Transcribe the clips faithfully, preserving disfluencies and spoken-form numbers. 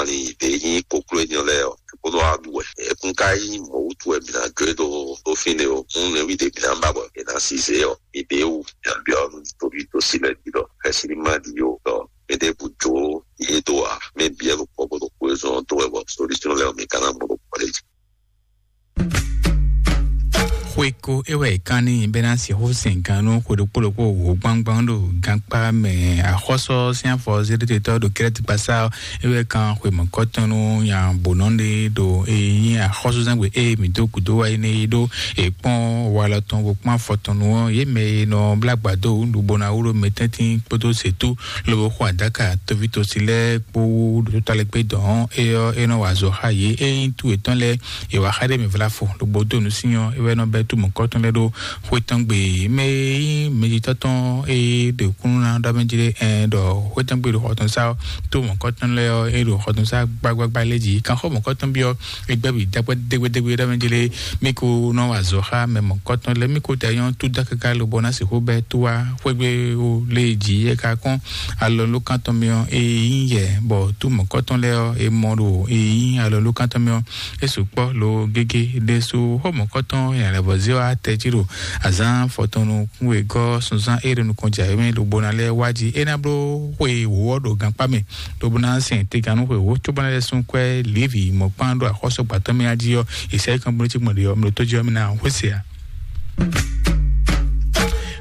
ali ɖě nyí kokló énɛ́ lɛ́ɛ ɔ́, bó nɔ wá ɖu wɛ. Ẹkún ka nyí mɔ̌ wútu wɛ mǐ ná jó e ɖó ɖó fínɛ́ o. Nú nɛví ɖě mǐ ná ba bɔ è nǎ si zě ɔ́, mǐ ɖě wú mǐ nǎ byɔ́ nú toví to si lɛ́ɛ jí ɖɔ xɛsi ní má ɖi ó, ɖɔ mɛ ɖěbǔ jó yě dó ǎ. Mɛ bǐ wɛ ɖo kpɔ́ bó ɖo xwezɔn ɔ́ dó wɛ bɔ solution lɛ́ɛ ɔ́ mǐ ka ná mɔ ɖo kpɔ́ lɛ́ɛ jí. Xweko é wɛ è kán n'i bɛ́ ná sixú sɛn gannú xwe ɖokpó ɖokpó wǒ gbangban ɖo gankpá mɛ. Axɔ́sɔ sín afɔ zéɖétetɔ́ ɖo Krɛ́ti kpasá ɔ́, é wɛ kan xwe mɔ̌kɔtɔn nú nya bǒnɔ ɖé ɖo e nyí axɔ́súzángbe e mǐ dó gǔdo wá é nɛ́ é ɖó. È kpɔ́n walɔ tɔn bó kpɔ́n afɔ tɔn nu ɔ́, yě mɛ e nɔ blá gbǎdó wǔ bó ná wló mɛ tɛ́ntin kpódó zětú lobo xo adáka tóvítosi lɛ́ɛ kpó wú ɖo tó talɛ́ gbé dɔn ɔ́, é ɔ́ é nɔ wa azɔ̌ xá yě. É nyí tú yětɔn lɛ́ɛ, è wǎ xá ɖé mɛ vlá fo lobo dó nǔ sín ɔ́, é wɛ nɔ bɛ́ tú mɔ̌kɔtɔn lɛ́ɛ ɖó xwé tɔn gbe. Mɛ e nyí mɛjitɔ́ tɔn e ɖe kúnnu ná ɖɔ mɛ jí ɖé ɛn ɖɔ xwé tɔn gbe ɖo xɔ tɔn sá ɔ́, tó mɔ̌kɔtɔn lɛ́ɛ ɔ́, é ɖo xɔ tɔn sá gbágbágbá lɛ́ɛ jí. Kanxɔ mɔ̌kɔtɔn byɔ́ egbɛ́ bǐ dá kpɛ́ dégbédégbé ɖɔ mɛ jí lé, mí ko nɔ wa azɔ̌ xá mɛ mɔ̌kɔtɔn lɛ́ɛ, mí ko ta nyɔ́ tú dá káká lobo ná sixú bɛ́ tó wá xwégbé ó lé jí é ka kɔn alɔ ló kántɔn mì ɔ́, é nyí yɛ bɔ tú mɔ̌kɔtɔn lɛ́ɛ ɔ́, é mɔ ɖo é nyí alɔ ló kántɔn mì ɔ́, é sukpɔ́ lo gégé ɖésú xɔ mɔ̌kɔtɔn yǎlɛ́vɔ́zé ɔ́ atɛ jí ɖo azǎn fɔtɔnnu kún wegɔ́ sunzán é ɖo nukɔn jǎwe mɛ lobo ná lɛ́ɛ wá jí é ná bló xwe wǒ ɔ́ ɖo gankpá mɛ. Lobo ná sɛn tegannú xwe wǒ cóbɔ ná lɛ́ sún kwɛ́ Levi mɔ̌kpán ɖo axɔ́sɔgbǎtɔ́ mɛ jí ɔ́, Yesaya kanblócígbɔn ɖe ɔ́, mlotó jí ɔ́, mɛ ná xwé se ǎ.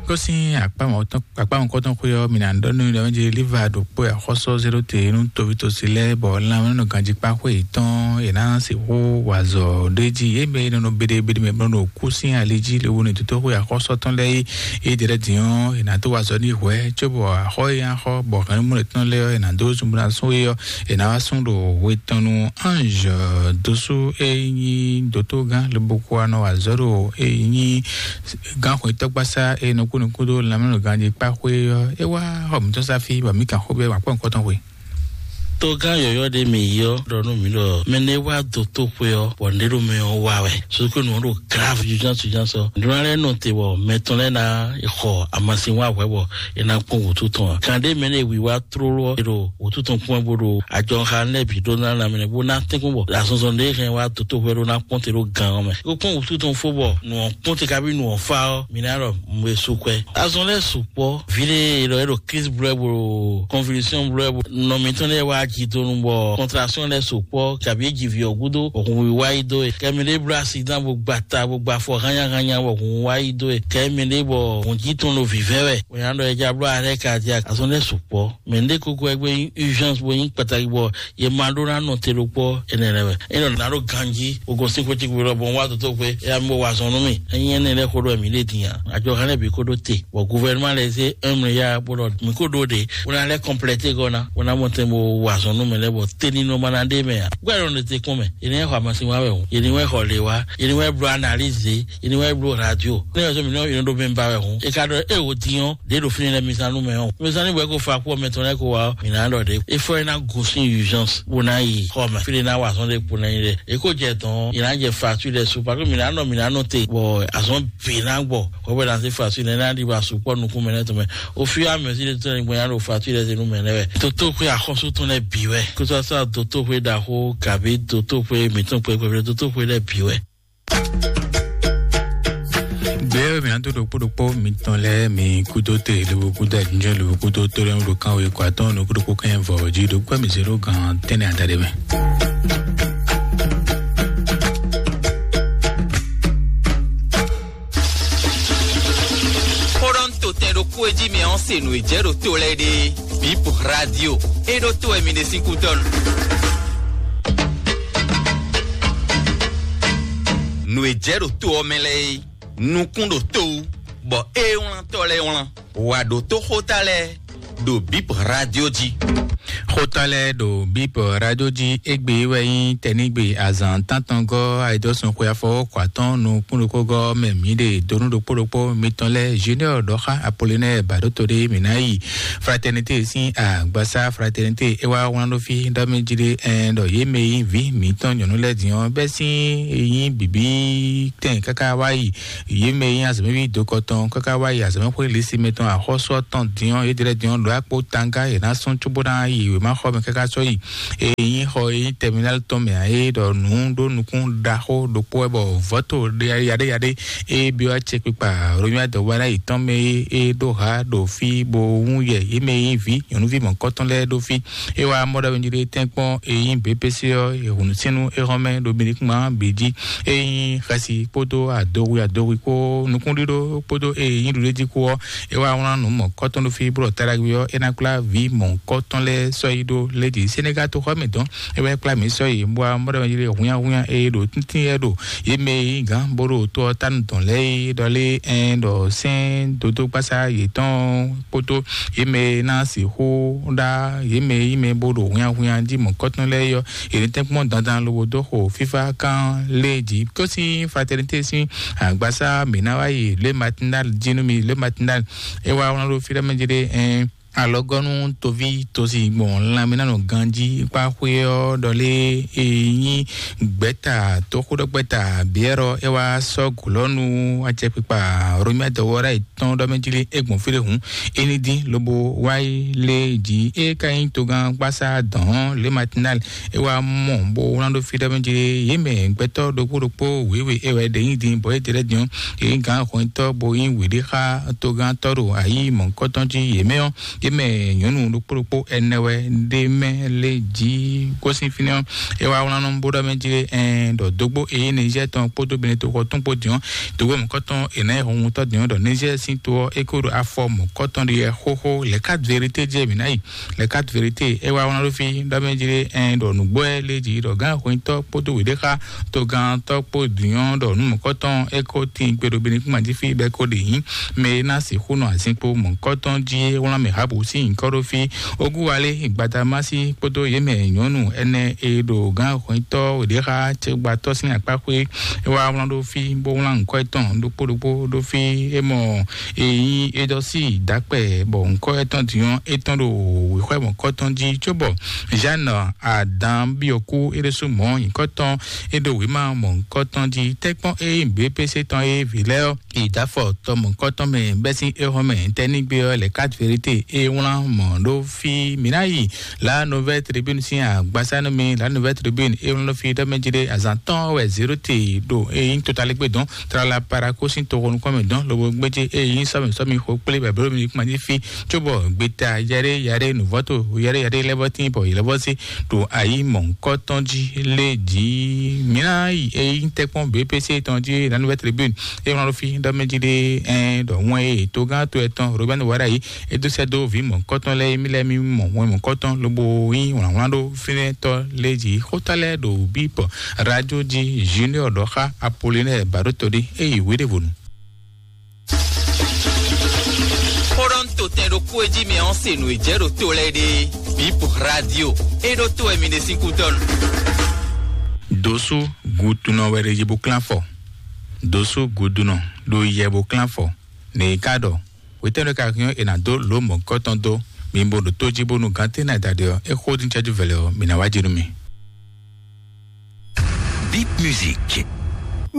Kó sín akpá mɔ̌tɔn akpá mɔ̌kɔtɔn xwe ɔ́, mǐ ná ɖɔ nú mi ɖɔ mɛ jí Liva ɖo kpó axɔ́sɔ zéɖó te nú tovítɔ́si lɛ́ɛ, bɔ lanmɛnɔ ganjíkpá xwe yětɔn è nǎ sixú wa azɔ̌ ɖé jí yě mɛ e nɔ nɔ beɖebeɖe mɛ bló ɖo kú sín ali jí lobo ní tótó xwe axɔ́sɔ tɔn lɛ́ɛ é. É ɖe lɛ́ɛ din ɔ́, è nǎ dó wa azɔ̌ n'i hwɛ̌ cóbɔ axɔ́ e nyí axɔ́ bɔ hɛ̌nnumú yětɔn lɛ́ɛ ɔ́, è nǎ dó zunbla sún é ɔ́, è nǎ wá sún ɖo hwe tɔn nú Ange dósú e nyí dótógán lobo kó wá nɔ wa azɔ̌ ɖo e nyí gánxwetɔ́gbasá e nɔ kú nukún dó lanmɛnɔgán jí kpá xwé ɔ́, é wá xɔ mǐtɔn sá fí bɔ mǐ kan xó bɛ́ wǎkpɔ́ nukɔntɔn xwe. Togán yɔ̌yɔ́ ɖé mǐ yi ɔ́ ɖɔ nú mǐ ɖɔ mɛ nɛ́ wá dó tó xwé ɔ́, bɔ nǔɖé ɖo mɛ ɔ́ wa wɛ. Sukúnu ɔ́ ɖo grave urgence urgence ɔ́. Nǔɖé lɛ́ɛ nɔ te bɔ mɛ tɔn lɛ́ɛ ná xɔ amasin wá hwɛ̌ bɔ é ná kpɔ́n wǔtu tɔn ǎ. Kan ɖé mɛ nɛ́ wiwa tlóló ɔ́, è ɖo wǔtu tɔn kpɔ́n bó ɖo ajɔxa lɛ́ɛ bǐ ɖó ná lanmɛ bó ná tɛ́nkpɔ́n bɔ azɔnzɔn ɖé hɛn wá dó tó xwé ɖó ná kpɔ́n te ɖó gan ɔ́ mɛ. Kó kpɔ́n wǔtu tɔn fó bɔ nǔ ɔ́ kpɔ́n te kabi nǔ ɔ́ fá ɔ́, mǐ ná ɖɔ nǔ e sú kwɛ́. Azɔn lɛ́ɛ sukpɔ́, vǐ ɖé e ɖɔ é ɖo crise bló wɛ bó ɖo convulsion bló wɛ bó nɔ mǐtɔn lɛ́ɛ wá jidonu bɔ contraction lɛ́ɛ sukpɔ́ kabi é ji vǐ ɔ́ gúdo, hun wíwá yi dó e. Kɛ mɛ ɖé bló accident bó gba ta bó gba afɔ hánnyáhánnyá bɔ hun wá yi dó e. Kɛ mɛ ɖé bɔ hun jí tɔn ɖo vǐvɛ́ wɛ, bó nya ɖɔ é já bló arrêt cardiaque. Azɔn lɛ́ɛ sukpɔ́, mɛ ɖé kókó wɛ gbé nyí urgence bó nyí kpataki bɔ yě ma ɖó ná nɔ te ɖokpó énɛ́ lɛ́ɛ wɛ. É nɔ ná ɖo ganjí, o gosín xwé tí gbe lɔ bɔ un wá dó tó xwé, é yá mi bó wa zɔn nú mì. Ényí énɛ́ lɛ́ɛ xó ɖɔ mǐ ɖe din ǎ. Àjọ hɛn lɛ́ɛ bǐ kó ɖó te, bɔ guvɛrɛnúmá lɛ́ɛ zé un milliard bó ɖɔ mǐ kó ɖó ɖe, bó ná lɛ́ kɔnplɛté gɔ́ ná, bó ná mɔ tɛn bó wa zɔn nú mɛ lɛ́ɛ bɔ tení nɔ ma ná ɖe mɛ ǎ. Gbɛ́ lɔ ɖe te kún mɛ, yě ní wá xɔ amasin wá wɛ hǔn, yě ní wá xɔ lě wá, yě ní wá bló analyse, yě ní wá bló radio. Ní wá sɔ mǐ nɔ yě nɔ ɖó mɛ ba wɛ hǔn, é ka ɖɔ é wò din ɔ́, ɖě ɖo fínɛ́ lɛ́ɛ mi zán nú mɛ ɔ́. Mi zán ní bɔ é ko fa kú ɔ́ mɛ tɔn lɛ́ɛ ko wá ɔ́, mǐ ná ɖɔ ɖě. É fɔ é ná gosín urgence bó ná yi xɔ mɛ. Fí ɖé ná wa azɔn ɖé kpo ná yi ɖe. É ko jɛ tɔn, yě ná jɛ facture lɛ́ɛ su, parce que mǐ ná nɔ, mǐ ná nɔ te, bɔ azɔn bǐ ná gbɔ. Xɔ bɛ ná se facture lɛ́ɛ ná ɖi ba sukpɔ nukún mɛ lɛ́ɛ tɔn mɛ. Au fur et à mesure de temps, gbɔn ya ɖo facture lɛ́ɛ se nú mɛ lɛ́ɛ wɛ. Dotóxwé axɔ́sú tɔn lɛ́ɛ bǐ wɛ. Kó sɔ sɔ dotóxwé ɖaxó, kabi dotóxwé mǐtɔn kpɛkpɛ, dotóxwé lɛ́ɛ bǐ wɛ. Gbé mi ato ɖokpó ɖokpó mitɔn lɛ mi kudo te lobo kudo ajinjɔn lobo kudo to lɛ ɖo kan we kɔ atɔn no kudo kɔ kɛn vɔ ji ɖo kɔ mi zero gan tɛnɛ ada ɖe mɛ. Xó ɖɔ ń to tɛn ɖokpó e jí mi ɔ́ se nǔ e jɛ ɖo to lɛ ɖe. Bip radio. E ɖo to wɛ mi ɖe sín kútɔ́ nu. Nǔ e jɛ ɖo to ɔ́ mɛ lɛ́ɛ é, nukún ɖo to wú, bɔ é wlántɔ́ lɛ́ɛ wlán. Wǎ ɖo tó xóta lɛ́ɛ ɖo Bip radio jí. Xóta lɛ́ɛ ɖo Bip radio jí égbé wɛ nyí tɛnigbe azǎn tántɔngɔ́ ayidɔ́sùn xwe afɔwɔ́kɔ atɔ́ɔ́n nukúnnukúngɔ́ mɛ mǐ ɖe donu ɖokpó ɖokpó mitɔn lɛ́ɛ Junior ɖɔxá Apolinɛ́ɛ Baɖótodé mǐ ná yi Fraternité sín agbasá Fraternité é wá wlán ɖó fí ɖɔ mɛ jí ɖé ɛn ɖɔ yě mɛ e nyí vǐ mǐtɔn nyɔ̌nu lɛ́ɛ din ɔ́ bɛ́ sín e nyí bǐbí tɛn káká wá yi yě mɛ e nyí azɔ̌mɛví dokɔ tɔn káká wá yi azɔ̌mɛxwé lǐsi mɛtɔn axɔ́sú ɔ́ tɔn din ɔ́ yě ɖe lɛ́ɛ din ɔ́ ɖo akpo tanga yě ná sɔ́n cóbó ná yi wěmaxɔ mɛ káká sɔ́ yi. Eye nyí xɔ e nyí tɛminál tɔn mɛ ǎ, é ɖɔ nǔ ɖó nukún ɖaxó ɖokpó wɛ bɔ vɔ̌to yaɖéyaɖé e byɔ́ acɛkpikpa Romia dɔ̌wáná yětɔn mɛ é, é ɖó ha ɖo fí bo wún yɛ yě mɛ e nyí vǐ nyɔ̌nuví mɔ̌kɔtɔn lɛ́ɛ ɖó fí. É wá mɔ ɖɔ jí ɖé tɛ́nkpɔ́n e nyí B P C ɔ́, e hǔn sínú é hɔn mɛ ɖo Benikuma bǐ jí. E nyí xɛsi kpódó adowi adowi kpó nukúnɖíɖó kpódó e nyí ɖuɖéjí kpó ɔ́, é wá wlán nǔ mɔ̌kɔtɔn ɖó fí bó ɖɔ taɖagbe ɔ́, é ná kplá vǐ mɔ̌kɔtɔn lɛ́ɛ sɔ́ yi ɖó lé jí. Senegal toxɔ mɛ dɔn, é wá kplá mǐ sɔ́ yi bó wá mɔ ɖɔ jí ɖé húnyáhúnyá e ɖo tíntín lɛ́ɛ ɖo yě mɛ e nyí gǎn bó ɖo to ɔ́ tánu dɔn lɛ́ɛ é ɖɔ lé ɛn ɖɔ sɛ́n dodó gbásá yětɔn kpódó yě mɛ e ná sixú ɖá yě mɛ e nyí mɛ bó ɖo húnyáhúnyá jí mɔ̌kɔtɔn lɛ́ɛ yɔ yě ní tɛ́nkpɔ́n dandan lobo dó xo fífá kán lé jí. Kó sín fraternité sín agbasá mǐ ná wá yi le matinal jí nú mi le matinal. É wá wlán ɖó fí ɖɔ mɛ jí ɖé ɛn alɔgɔnu toví tosi gbɔn lanmɛnánɔ ganji kpa xwé ɔ́ ɖɔ lé e nyí gbɛta toxóɖɔgbɛta biɛrɔ é wá sɔ́ gulɔnu acɛkpikpa romia dɔwɔra tɔn ɖɔ mɛ jí lé é gbɔn fí ɖé hǔn é ní dín lobo wá yi lé jí é ka nyí togán gbásá dɔn le matinal. É wá mɔ bó wlán ɖó fí ɖɔ mɛ jí lé yě mɛ gbɛtɔ́ ɖokpó ɖokpó wěwe é wɛ ɖe nyí dín bɔ é ɖe lɛ́ dín é nyí gǎn hwɛntɔ́ bo nyí wěɖé xá togán tɔ́ ɖo ayǐ mɔ̌kɔtɔn jí yě mɛ ɔ́. Yě mɛ nyɔ̌nu ɖokpó ɖokpó ɛnɛ wɛ ɖé mɛ lé jí gosín fínɛ́ ɔ́. É wá wlán nɔ bó ɖɔ mɛ jí ɛn ɖɔ dógbó eyí Niger tɔn kpódó Benin toxɔ tɔn kpó din ɔ́, dógbó mɔ̌kɔtɔn è nǎ yi hɔnhutɔ́ din ɔ́ ɖɔ Niger sín to ɔ́ é ko ɖo afɔ mɔ̌kɔtɔn ɖi wɛ xóxó. Les quatre vérités jɛ mǐ ná yi. Les quatre vérités é wá wlán ɖó fí ɖɔ mɛ jí ɛn ɖɔ nǔgbó ɛ lé jí ɖɔ gǎn hwɛntɔ́ kpódó wěɖéxa togantɔ́ kpó dǐnyɔ́ ɖɔ nǔ mɔ̌kɔtɔn é ko tín gbe ɖo Benin kúma jí fí bɛ́ ko ɖe nyí mɛ e ná sixú nɔ azinkpo mɔ̌kɔtɔn jí é wlán mɛ Habu sín nyǐkɔ ɖó fí. Ogúwalé Gbadamási kpódó yě mɛ nyɔ̌nu ɛnɛ e ɖo gǎn hwɛntɔ́ wěɖéxa cɛgbatɔ́ sín akpá xwé é wá wlán ɖó fí bó wlán nyǐkɔ etɔn ɖokpó ɖokpó ɖó fí. É mɔ e nyí é dɔ sí dǎkpɛ bɔ nyǐkɔ etɔn dǐnyɔ́ é tɔn ɖo wěxwɛ́ mɔ̌kɔtɔn jí cóbɔ Jeanne Adan Biɔku é ɖésú mɔ̌ nyǐkɔ tɔn é ɖo wěma mɔ̌kɔtɔn jí tɛ́kpɔ́n é nyí B P C tɔn é vǐ lɛ́ɛ ɔ́. Idafɔ tɔ mɔ̌kɔtɔn mɛ bɛ́ sín éhɔn mɛ tɛ́nígbe ɔ́ lɛ quatre vérité é wlán mɔ̌ ɖó fí mǐ ná yi La Nouvelle Tribune sín agbasá nú mi. La Nouvelle Tribune é wlán ɖó fí ɖɔ mɛ jí ɖé azǎn tɔn wɛ zéro te ɖo é nyí totalégbé dɔn tlala parako sín toxo nukɔn mɛ dɔn lobo gbéjé é nyí sɔmi sɔmi xo kplé bɛbɛló mi kpán jí fí cóbɔ gbeta yɛɖé yɛɖé nǔvɔ́to yɛɖé yɛɖé lɛ́vɔ́ tín bɔ yě lɛ́vɔ́ sí ɖo ayǐ mɔ̌kɔtɔn jí lé jí. Mǐ ná yi é nyí tɛ́kpɔ́n B P C tɔn jí La Nouvelle Tribune é wlán ɖó fí ɖɔ mɛ jí ɖé ɛn ɖɔ wɛn e togán to ɛtɔn Robert Wara yi é dó sɛ́ dó vǐ mɔ̌kɔtɔn lɛ́ɛ mí lɛ́ɛ mí mɔ wɛn mɔ̌kɔtɔn lobo nyí wlǎnwlán ɖó fínɛ́tɔ́ lé jí xótá lɛ́ɛ ɖo bíbɔ radio jí Junior ɖɔ xá Apollinaire Baɖótɔɖé é yi wěɖévonu. Xó ɖɔ un to tɛn ɖokpó e jí mɛ ɔ́ se nǔ e jɛ ɖo to lɛ́ɛ ɖe. Bip radio é ɖó to wɛ mi ɖe sín kútɔ́nu. Dosu gudunɔ wɛ ɖe yi bo klán fɔ. Dosu gudunɔ ɖo yɛ bo klán fɔ. Nɛ yi ka ɖɔ wetɛ́nɔ ka hɛn è nǎ dó lǒ mɔ̌kɔtɔn dó mi bo ɖo tó jí bónú gǎn tɛ́ ná da ɖe ɔ́ é xó dín cɛ́jú vɛlɛ ɔ́ mi ná wá jí nú mi. Bip Music.